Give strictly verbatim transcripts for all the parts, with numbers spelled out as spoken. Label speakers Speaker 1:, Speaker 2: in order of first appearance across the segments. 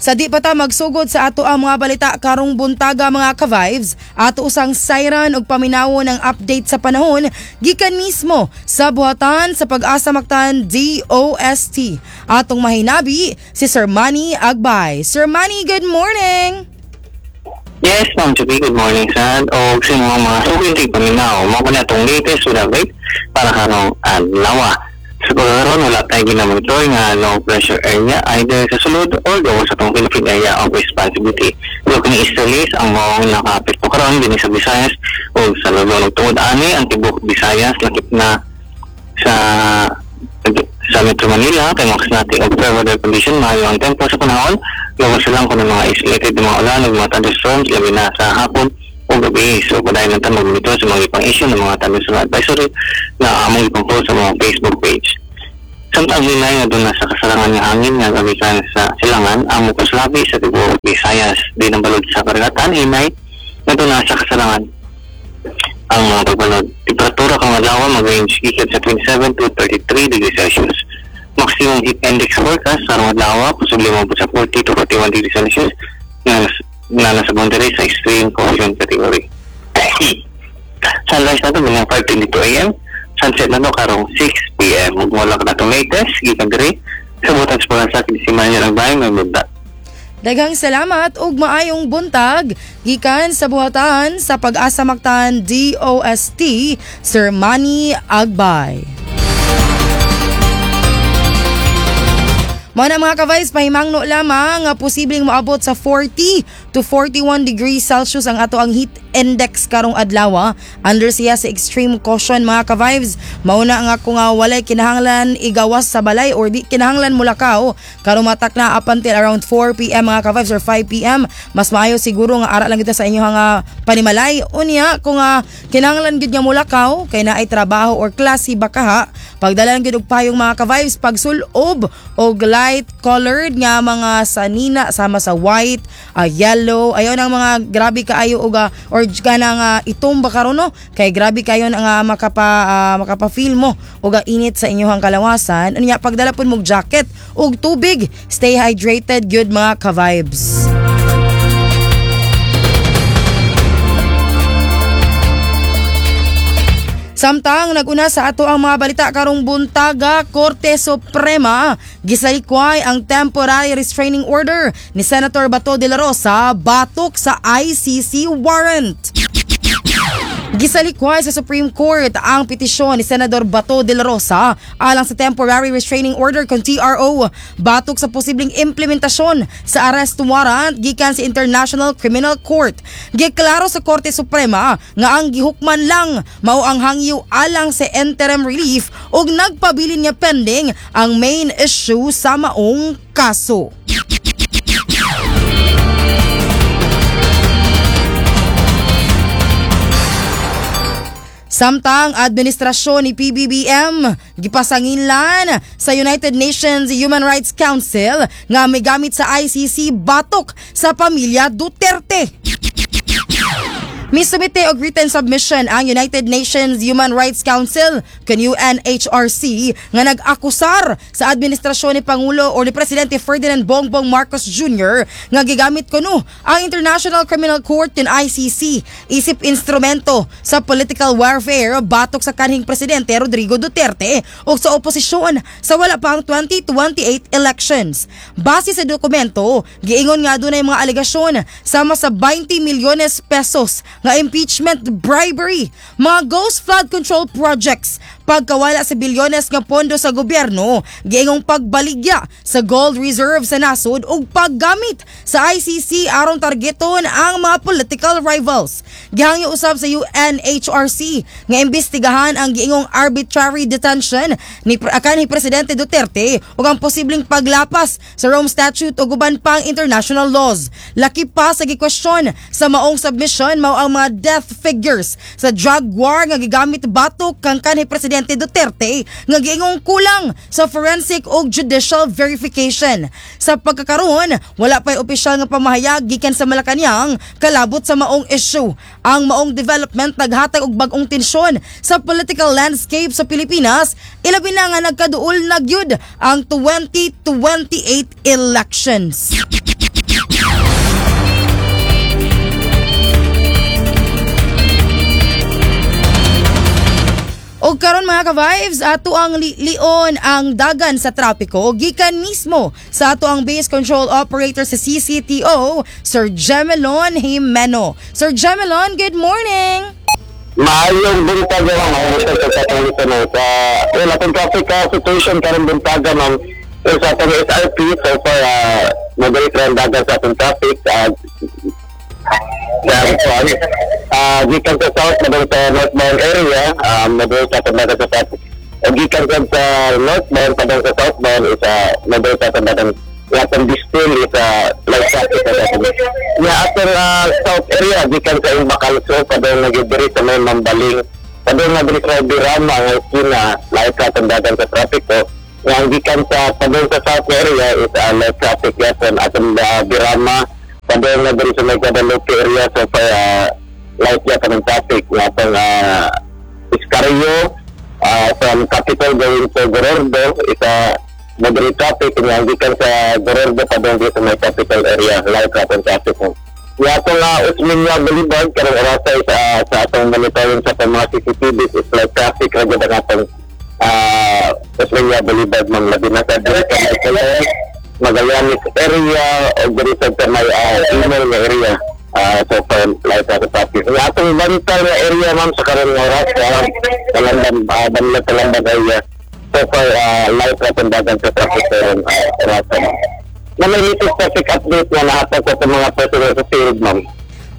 Speaker 1: Sa di pa ta magsugod sa ato ang mga balita karong buntaga, mga ka-vibes, ato usang sayran og paminawon ang update sa panahon gikan mismo sa buhatan sa Pag-asa Mactan D O S T. Atong mahinabi si Sir Manny Agbay. Sir Manny, good morning!
Speaker 2: Yes, Ma'am Chupi, good morning sa og sa mga mga suking tigpaminaw. Mao ko na itong latest with update para karong adlaw. Sa pagkaroon, wala tayo ginamonitor nga low pressure area either sa sulod or gawas sa atong Philippine Area of Responsibility. So, kini easterlies ang maong nakaapekto karon dinhi sa Visayas o sa Luzon. Ug tungod ani, ang tibuok Visayas lakip na sa sa Metro Manila kay makasinati og fair weather condition, maayo ang tempo sa panahon, gawas lang kuno mga isolated na mga ulan ug mga thunderstorms, labi na sa hapon o gabi. So padayon lang ta mag-monitor sa mga ipang issue ng mga thunderstorm advisory na among ipang-post sa mga Facebook page. Samtang hinay nga duna sa kasarangan nga hangin nga gamikan sa silangan ang mukaslabi sa tibuok Visayas. Di ng balod sa karagatan, hinay nga duna sa kasarangan ang mga pagbalod. Temperatura karong adlaw mag-range gikan sa twenty-seven to thirty-three degrees Celsius. Maximum heat index forecast sa karong adlaw posible moabot sa forty to forty-one degrees Celsius nga nga nasa boundary sa extreme caution category. Sunrise nato mga five twenty-two a m. Sunset nato karong six p m. Ug mao lang atong latest gikan diri sa buhatan sa Pag-asa, si Manuel Agbay, may buntag.
Speaker 1: Daghang salamat ug maayong buntag gikan sa buhatan sa Pag-asa Mactan D O S T, Sir Manny Agbay. Mao na, mga ka-vibes, pahimangno lamang nga posibleng moabot sa forty to forty-one degrees Celsius ang ato ang heat index karong adlaw. Under siya sa extreme caution, mga ka-vibes. Mauna nga kung nga walay kinahanglan igawas sa balay or di kinahanglan mulakaw karong matak na up until around four p m, mga ka-vibes, or five p m, mas maayo siguro nga ara lang kita sa inyong nga panimalay. Unya kung nga kinahanglan gyud nga mulakaw kay naay trabaho or klase bakaha, pagdala lang gyud og payong, mga ka-vibes, pagsulob og light colored nga mga sanina sama sa white, ah, yellow, ayaw nang mga grabe kaayo og ah, or kanang uh, itom ba karon, no, kay grabe kayo nga makapa ah, makapa-feel mo og ah, init sa inyong kalawasan. Unya pagdala pud mog jacket ug tubig, stay hydrated gyud, mga ka-vibes. Samtang naguna sa ato ang mga balita karong buntaga, Korte Suprema gisalikway ang temporary restraining order ni Senator Bato de la Rosa batok sa I C C warrant. Gisalikway sa Supreme Court ang petisyon ni Senador Bato de la Rosa alang sa temporary restraining order kon T R O batok sa posibleng implementasyon sa arrest warrant gikan sa International Criminal Court. Giklaro sa Korte Suprema nga ang gihukman lang mao ang hangyo alang sa interim relief ug nagpabilin nga pending ang main issue sa maong kaso. Samtang administrasyon ni P B B M gipasanginlan sa United Nations Human Rights Council nga may gamit sa I C C batok sa pamilya Duterte. Misumite og written submission ang United Nations Human Rights Council kan U N H R C nga nag-akusar sa administrasyon ni Pangulo o ni Presidente Ferdinand Bongbong Marcos Junior nga gigamit kuno ang International Criminal Court kin I C C isip instrumento sa political warfare batok sa kanhing presidente Rodrigo Duterte ug sa oposisyon sa wala pa ang twenty twenty-eight elections. Base sa dokumento, giingon nga dunay mga alegasyon sama sa twenty milyones pesos nga impeachment bribery, mga ghost flood control projects, pagkawala sa bilyones nga pondo sa gobyerno, giingong pagbaligya sa gold reserve sa nasod ug paggamit sa I C C aron targeton ang mga political rivals. Gihangyo usab sa U N H R C nga imbestigahan ang giingong arbitrary detention ni kanhi Presidente Duterte ug ang posibleng paglapas sa Rome Statute ug uban pang international laws. Laki pa sa gikwestiyon sa maong submission mao ang mga death figures sa drug war nga gigamit batok kang kanhi Presidente Duterte nga giingong kulang sa forensic ug judicial verification. Sa pagkakaroon, wala pa'y opisyal nga pamahayag gikan sa Malacanang kalabot sa maong issue. Ang maong development naghatag og bag-ong tensyon sa political landscape sa Pilipinas, ilabi na nga nagkaduol na gyud ang twenty twenty-eight elections. Og karon, mga ka-vibes, ato ang li- lion ang dagan sa trapiko gikan mismo sa ato ang base control operator sa C C T O, Sir Gemelon Jimeno. Sir Gemelon, good morning!
Speaker 2: Maayong buntag, ma'am. Maayong buntag sa atong listener. Sa well, atong traffic uh, situation karong buntaga, ma'am. Well, sa atong S R P, so far, uh, moderate ra ang dagan sa atong traffic. Uh, sa uh, gikan sa south, padung sa northbound area, um, moderate sa atong dagan sa traffic. O gikan sa sa northbound, padung sa southbound, is uh, moderate sa atong dagan. Yung atong distil is uh, light traffic sa atong. Ya, atong uh, south area, gikan sa Imbacalso, padung nagidiri sa may Mambaling, padung na diri sa Birama, nga esquina, light sa atong dagan sa traffic ko. Nga ang gikan sa padung sa south area is uh, light traffic yapon atong uh, Birama, padung na diri sa may Guadalupe area, so far uh, light yapon ang traffic. Nga atong uh, Escario, uh, from Capitol going to Gorordo is a moderate traffic. Nga ang gikan sa Gorordo padung diri sa may Capitol area, light yapon traffic mo. Nga atong uh, Osmeña Boulevard karong orasa is uh, sa atong monitoring sa atong mga C C T Vs is light traffic ra gyud ang atong uh, Osmeña Boulevard, ma'am, labi na sa diri sa may Color, Magallanes area o diri sa may uh, Email nga area. Uh, so far light ra traffic. Nga atong Bantal nga area, ma'am, sa karon nga oras, uh, Talamban, uh, Banla Talamban area, so far uh, light ra dagan sa traffic karon uh, orasa, ma'am. Na may latest traffic update na nahatag sa atong mga personnel sa field, ma'am.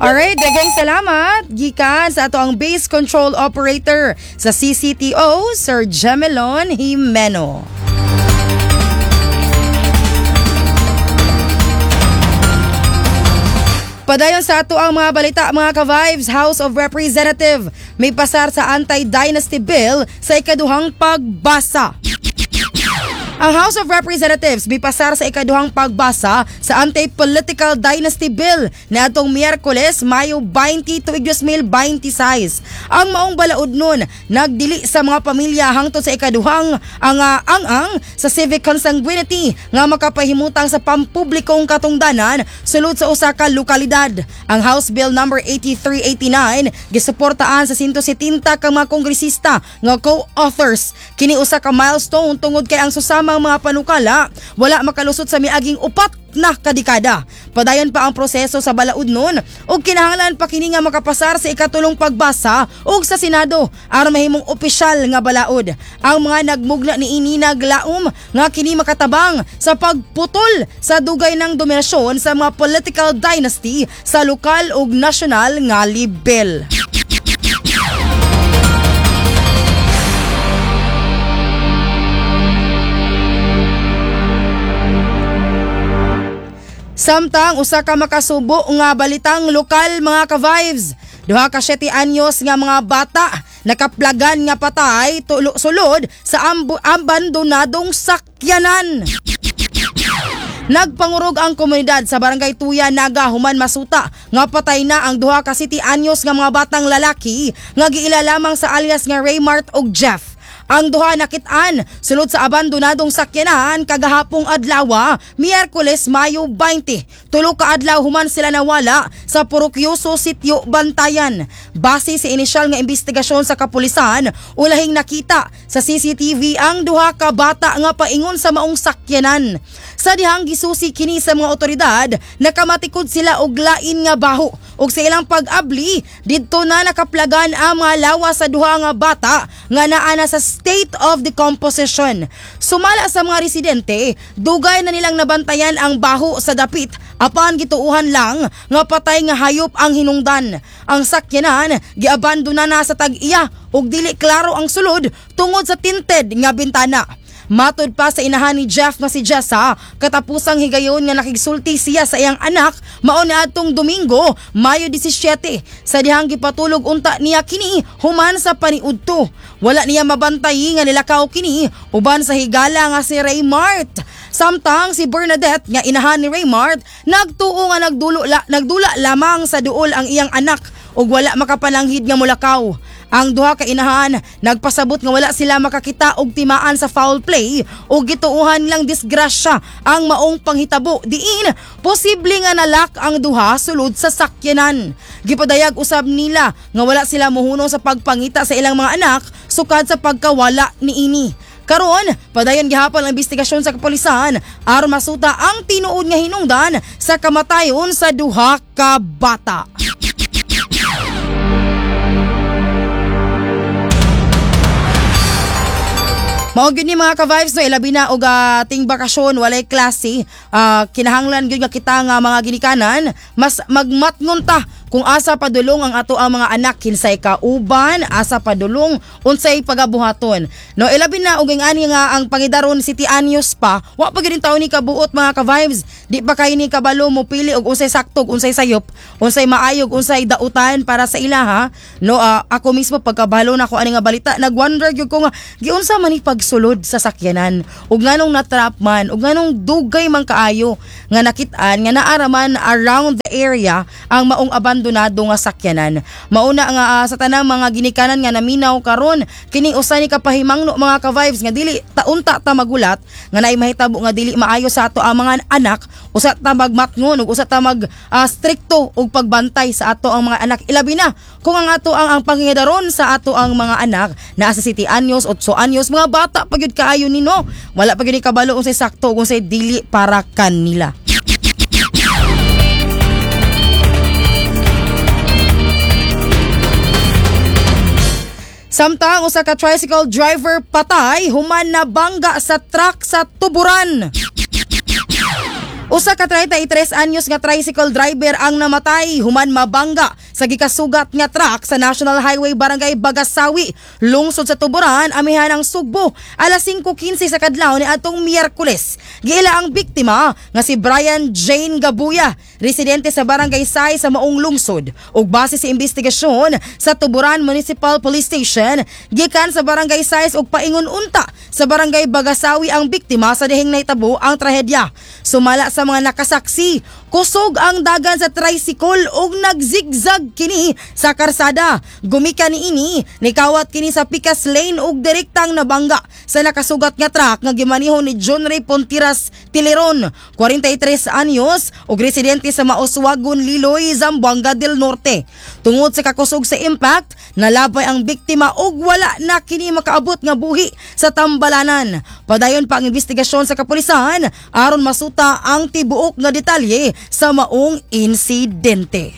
Speaker 1: Alright, daghang salamat gikan sa ato ang base control operator sa C C T O, Sir Gemelon Jimeno. Padayon sa ato ang mga balita, mga ka-vibes, House of Representative may pasar sa Anti-Dynasty Bill sa ikaduhang pagbasa. Ang House of Representatives mipasar sa ikaduhang pagbasa sa Anti-Political Dynasty Bill na atong Miyerkules, Mayo twenty, tuig twenty twenty-six. Ang maong balaod nun nagdili sa mga pamilya hangtod sa ikaduhang ang uh, ang-ang sa civic consanguinity nga makapahimutang sa pampublikong katungdanan sulod sa usa ka lokalidad. Ang House Bill number eighty-three eighty-nine gisuportaan sa one hundred seventy ka mga kongresista nga co-authors. Kini usa ka milestone tungod kay ang susamang mga panukala wala makalusot sa miaging upat na kadekada. Padayon pa ang proseso sa balaod nun ug kinahanglan pa kini nga makapasar sa ikatulong pagbasa ug sa Senado aron mahimong opisyal nga balaod. Ang mga nagmugna niini naglaom nga kini makatabang sa pagputol sa dugay ng dominasyon sa mga political dynasty sa lokal ug nasyonal nga lebel. Samtang usa ka makasubo nga balitang lokal, mga ka-vibes. Duha ka siyete anyos nga mga bata nakaplagan nga patay tulo, sulod sa ambu, abandonadong sakyanan. Nagpangurog ang komunidad sa Barangay Tuya, Naga human masuta nga patay na ang duha ka siyete anyos nga mga batang lalaki nga giila lamang sa alias nga Raymart ug Jeff. Ang duha nakit-an sulod sa abandonadong sakyanan kagahapong adlaw, Miyerkules, Mayo twenty. Tulo ka adlaw human sila nawala sa Purok Yuso, Sitio Bantayan. Base sa inisyal nga investigasyon sa kapulisan, ulahing nakita sa C C T V ang duha ka bata nga paingon sa maong sakyanan. Sa dihang gisusi kini sa mga otoridad, nakamatikod sila og lain nga baho ug sa ilang pag-abli didto na nakaplagan ang mga lawas sa duha nga bata nga naa na sa state of decomposition. Sumala sa mga residente, dugay na nilang nabantayan ang baho sa dapit apan gituuhan lang nga patay nga hayop ang hinungdan. Ang sakyanan giabandona na sa tag-iya ug dili klaro ang sulod tungod sa tinted nga bintana. Matod pa sa inahan ni Jeff nga si Jessa, katapusang higayon nga nakigsulti siya sa iyang anak mao ni adtong Domingo, Mayo labing-siyete. Sa dihang gipatulog unta niya kini human sa paniudto. Wala niya mabantay nga nilakaw kini uban sa higala nga si Raymart. Samtang si Bernadette nga inahan ni Raymart nagtuo nga nagdulo la, nagdula lamang sa duol ang iyang anak ug wala makapananghid nga mulakaw. Ang duha ka inahan nagpasabot nga wala sila makakita og timaan sa foul play o gituuhan lang disgrasya ang maong panghitabo, diin posible nga nalak ang duha sulod sa sakyanan. Gipadayag usab nila nga wala sila muhunong sa pagpangita sa ilang mga anak sukad sa pagkawala niini. Karon, padayon gihapon ang investigasyon sa kapolisan aron masuta ang tinuod nga hinungdan sa kamatayon sa duha ka bata. Mao gyud ni, mga ka-vibes, no, ilabi na og uh, ting bakasyon, walay klase, uh, kinahanglan gyud nga kita nga mga ginikanan mas magmatngon ta kung asa padulong ang ato ang mga anak, kinsay kauban, asa padulong, unsay pagabuhaton. No, ilabi na og ani nga ang pangidaron siyete anyos pa, wa pa gyud taon ni kabuot, mga ka-vibes. Di pa kay ni kabalo mo pili og unsay sakto, unsay sayop, unsay maayog, unsay dautan para sa ilaha. No, uh, ako mismo, pagkabalo na ko ani nga balita, nagwonder gyud ko nga giunsa man ni pagsulod sa sakyanan ug nganong natrap man ug nganong dugay man kaayo nga nakit-an nga naaraman around the area ang maong abandonado nga sakyanan. Mauna nga uh, sa tanang mga ginikanan nga naminaw karon, kini usa ni kapahimangno, mga ka-vibes, nga dili taunta ta magulat nga naay mahitabo nga dili maayo sa ato ang mga anak. Usa ta magmatngon ug usa ta mag uh, strikto og pagbantay sa ato ang mga anak, ilabi na kung ang ato ang, ang pangingidaron sa ato ang mga anak naa sa siyete anyos, otso anyos, mga bata pa gyud kaayo nino, wala pa gyud ni kabalo unsay sakto ug unsay dili para kanila. Samtang usa ka tricycle driver patay human nabangga sa truck sa Tuburan. Usa ka treinta y tres anyos nga tricycle driver ang namatay human mabangga sa gikasugat nga truck sa National Highway, Barangay Bagasawi, lungsod sa Tuburan, amihan ang Sugbo, alas singko kinse sa kadlawon ni atong Miyerkules. Giila ang biktima nga si Brian Jane Gabuya, residente sa Barangay Say sa maong lungsod. Ug base sa investigasyon sa Tuburan Municipal Police Station, gikan sa Barangay Sais ug paingon unta sa Barangay Bagasawi ang biktima sa dihing nahitabo ang trahedya. Sumala sa mga nakasaksi, kusog ang dagan sa tricycle ug nagzigzag kini sa karsada. Gumikan niini, nikawat kini sa Picas Lane ug direktang nabangga sa nakasugat nga truck nga gimaniho ni John Ray Pontiras Tileron, kwarenta y tres anyos ug residente sa Mauswagon, Liloy, Zamboanga del Norte. Tungod sa kakusog sa impact, nalabay ang biktima ug wala na kini makaabot nga buhi sa tambalanan. Padayon pa ang investigasyon sa kapulisan aron masuta ang tibuok nga detalye sa maong insidente.